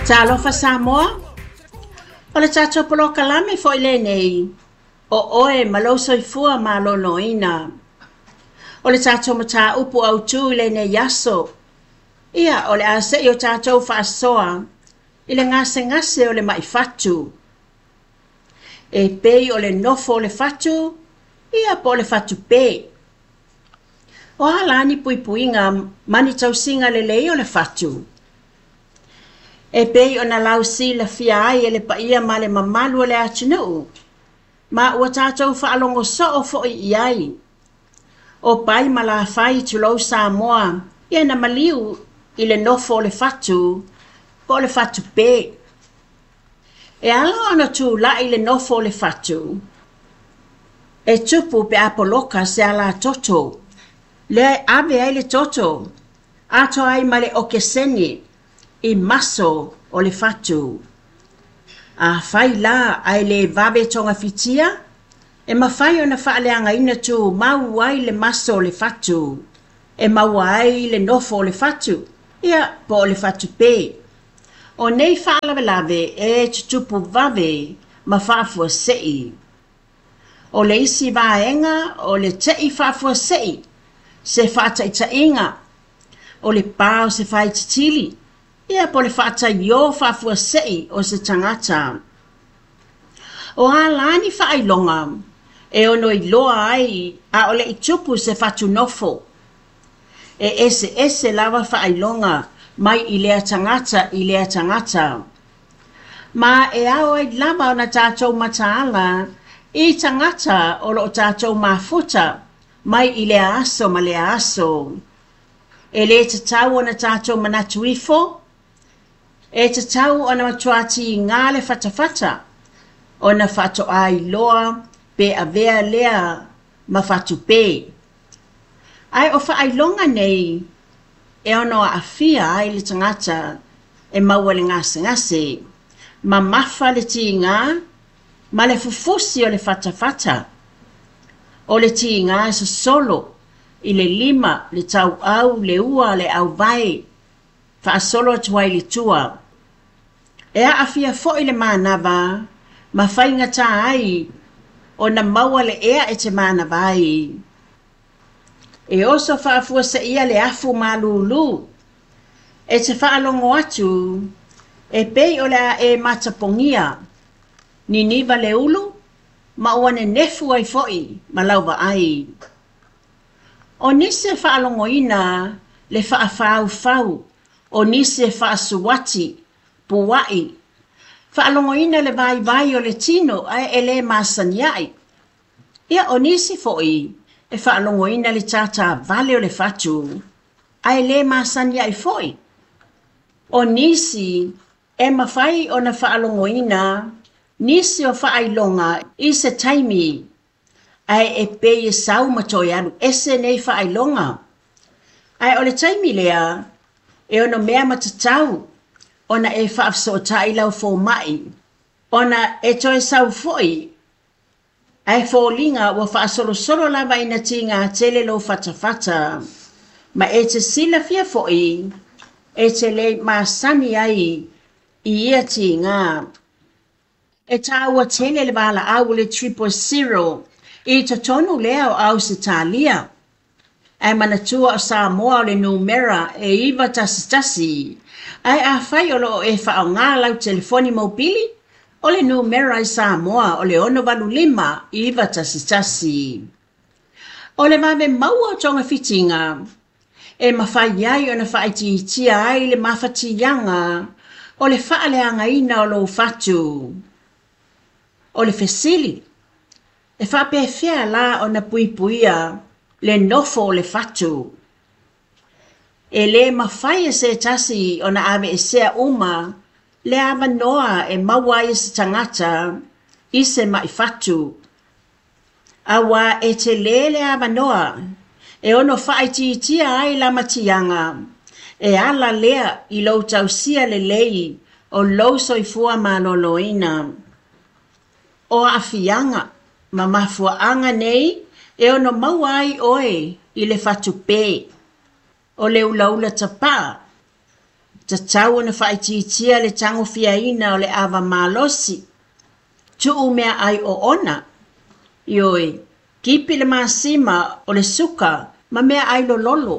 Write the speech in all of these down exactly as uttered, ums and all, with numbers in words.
Talofa Samoa, o le tatou polokalame foi lenei, o oe ma lou soifua maloloina. O le tatou mataupu autu i lenei aso, ia o le a se'i o tatou faasoa i le gasegase o le ma'i fatu. E pei o le nofo o le fatu, ia po o le fatupē. O a la ni puipuiga ma ni tausiga lelei o le fatu? E pei ona lausilafia ai e le paia ma le mamalu o le atunuu, ma ua tatou faalogo soo foi i ai. O pai ma lafai tulou Samoa, ia na maliu i le nofo o le fatu po o le fatupē. E ala ona tula'i le nofo o le fatu, e tupu pe a poloka se alatoto, lea e ave ai le toto, atoa ai ma le okesene i maso o le fatu. Afai la ae le vave togafitia, e mafai ona faaleagaina tumau ai le maso o le fatu, e maua ai le nofo o le fatu, ia po o le fatupē. O nei faalavelave e tutupu vave ma faafuasei. O le isi vaega o le te'i faafuasei, se faataitaiga, o le pa o se faititili, ia po o le faataiō faafuasei o se tagata. O a la ni faailoga e ono iloa ai a o le i tupu se fatu nofo. E eseese lava faailoga mai i lea tagata i lea tagata. Ma e ao ai lava ona tatou mataala i tagata o loo tatou mafuta mai i lea aso ma lea aso. E lē tatau ona tatou manatu ifo, e tatau ona matua tigā le fatafata, ona faatoa iloa pe avea lea ma fatupē. Ae o faailoga nei e ono aafia ai le tagata e maua i le gasegase, mamafa le tigā ma le fufusi o le fatafata. O le tigā e sosolo i le lima, le tauau, le ua, le auvae, faasolo atu ai i le tua. E aafia foi le manava ma faigata ai ona maua le ea e te manava ai. E oso faafuaseia le afu malūlū. E te faalogo atu e pei o le a e matapogia, niniva le ulu ma ua nenefu ai foi ma lau vaai. O nisi e faalogoina le faafaufau, o nisi e faasuati, pua'i, faalogoina le vaivai o le tino ae e lē masani ai. Ia o nisi foi e faalogoina le tātāvale o le fatu ae lē masani ai foi. O nisi e mafai ona faalogoina nisi o faailoga i se taimi ae e pei e sau ma toe alu ese nei faailoga. Ae o le taimi lea e ono mea matatau ona e faafesootai lau foma'i ona e toe sau foi ae foliga ua faasolosolo lava ina tigā tele lou fatafata ma e te silafia foi e te le masani ai i ia tigā. E tāua tele le valaau o le triple zero i totonu lea o Ausetalia. Ae manatua o Samoa o le numera e iva tasi tasi. Ae afai o loo e faaaogā lau telefoni mobili, o le numera i Samoa o le ono valu lima iva tasi tasi. O le vave maua o togafitiga e mafai ai ona faaitiitia ai le mafatiaga o le faaleagaina o lou fatu. O le fesili, e faapefea la ona puipuia le nofo o le fatu? E lē mafai e se tasi ona aveesea uma le avanoa e maua ai e se tagata i se ma'i fatu. Auā e telē le avanoa e ono faaitiitia ai lamatiaga e ala lea i lou tausia lelei o lou soifua maloloina. O aafiaga ma mafuaaga nei e ono maua ai oe i le fatupē. O le ulaula tapaa, Tatau ona faaitiitia le tagofiaina o le ava malosi. Tuu meaai oona. Ioe, tipi le masima o le suka ma meaai lololo.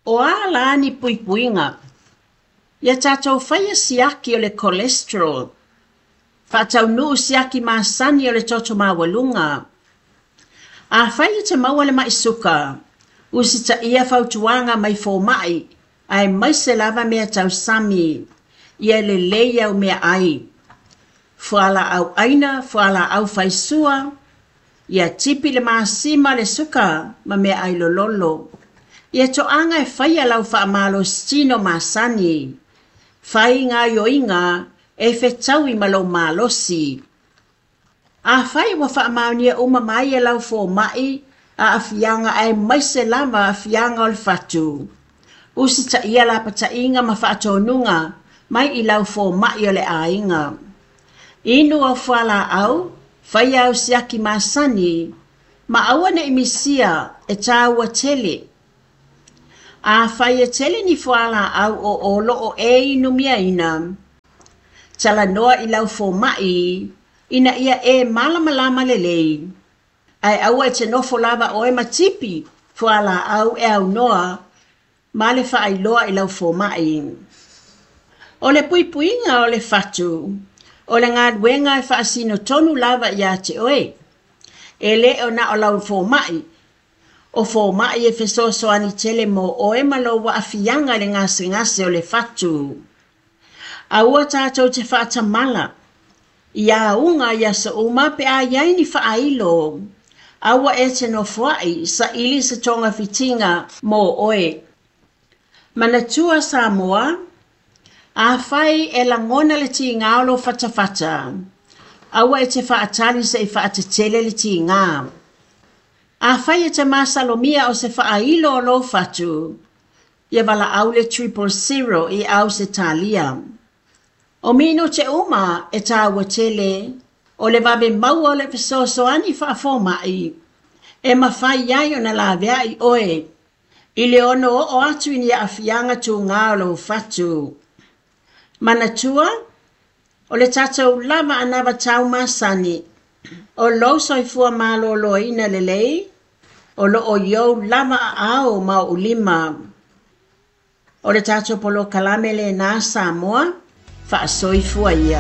O a la ni puipuiga. Ia tatou faia siaki o le cholesterol. Faataunuu siaki masani o le toto maualuga. Afai e te maua le mai suka, usitaia fautuaga mai fomai, aemaise lava mea tausami, ia lelei au meaai. Fualaau aina, fualaau faisua, ia tipi le masima le suka ma meaai lololo. Ia toaga e faia lau faamalositino masani. Fai gaoioiga e fetaui ma lou malosi. Afai ua faamaonia uma mai e lau fomai aafiaga aemaise lava aafiaga o le fatu. Usitaia lapataiga ma faatonuga mai i lau fomai o le aiga. Inu au fualaau, faia au siaki masani, ma aua ne'i misia e tāua tele. Afai e tele ni fualaau o o loo e inumiaina, talanoa i lau fomai ina ia e malamalama lelei. Ae aua e te nofo lava oe ma tipi fualaau e aunoa ma le faailoa i lau fomai. O le puipuiga o le fatu, o le galuega e faasino tonu lava ia te oe. E le o na o lau fomai. O fomai e fesoasoani tele mo oe ma lou aafiaga i le gasegase o le fatu. Aua tatou te faatamala. Ia auga i aso uma pe a i ai ni faailo. Aua e te nofoai saili se togafitiga mo oe. Manatua Samoa, afai e lagona le tiga o lou fatafata, aua e te faatali se'i faatetele le tiga. Afai e te masalomia o se faailo o lou fatu, ia valaau le triple zero i Ausetalia. O minute uma e tāua tele, o le vave maua o le fesoasoani faafoma'i, e mafai ai ona laveai oe, i le ono oo atu i ni aafiaga tuga o lou fatu. Manatua, o le tatou lava anavatau masani, o lou soifua maloloina lelei, o loo i ou lava aao ma ou lima. O le tatou polokalame lenā Samoa, faasoifua ia.